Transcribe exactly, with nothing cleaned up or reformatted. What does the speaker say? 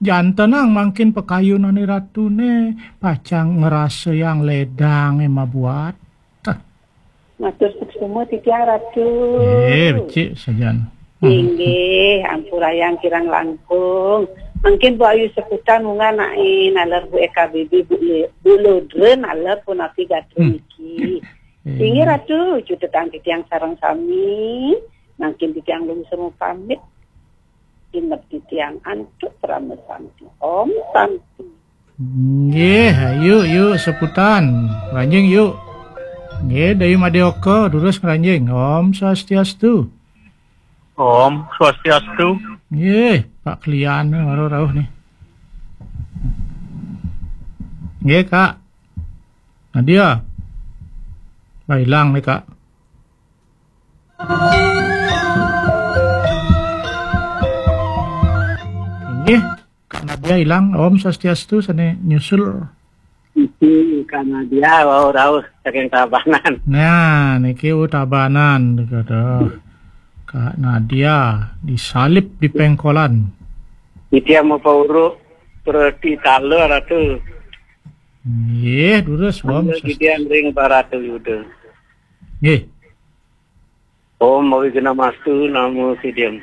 Jantenang mangkin pakayunane Ratune, pacang ngrasayang ledange mabuat. Matur suksma titiang Ratu. Eh, becik sajan. Inggih, ampurayang kirang langkung. Mangkin Bu Ayu Seputan munggah nain, aler Bu E K B B, Bu Le-, Bu Lodren, aler punapi gatra niki. Inggih Ratu, cutetang titiang sareng sami. Mangkin titiang lungsur pamit. Inep titiang antuk parama santi. Om Santi. Nggih, ayu, yu, Seputan. Ngranjing, yu. Nggih, Dayu Madioka, durus ngranjing. Om Swastiastu. Om Swastiastu. Nggih, Pak Klian nih, baru rauh nih. Nggih, Kak. Nadia. Lah, ilang nih, Kak. Inggih, Kak Nadia ilang. Om Swastiastu, sane nyusul. Iki Kak Nadia, wau rauh saking Tabanan. Nah, niki U Tabanan, aduh. Kak Nadia disalib di pengkolan. Titiang mapauruk preti tala, Ratu. Nggih, durus, Om. Titiang ring Barata Yuda. Nggih. Om Awighnamastu Namo Siddham.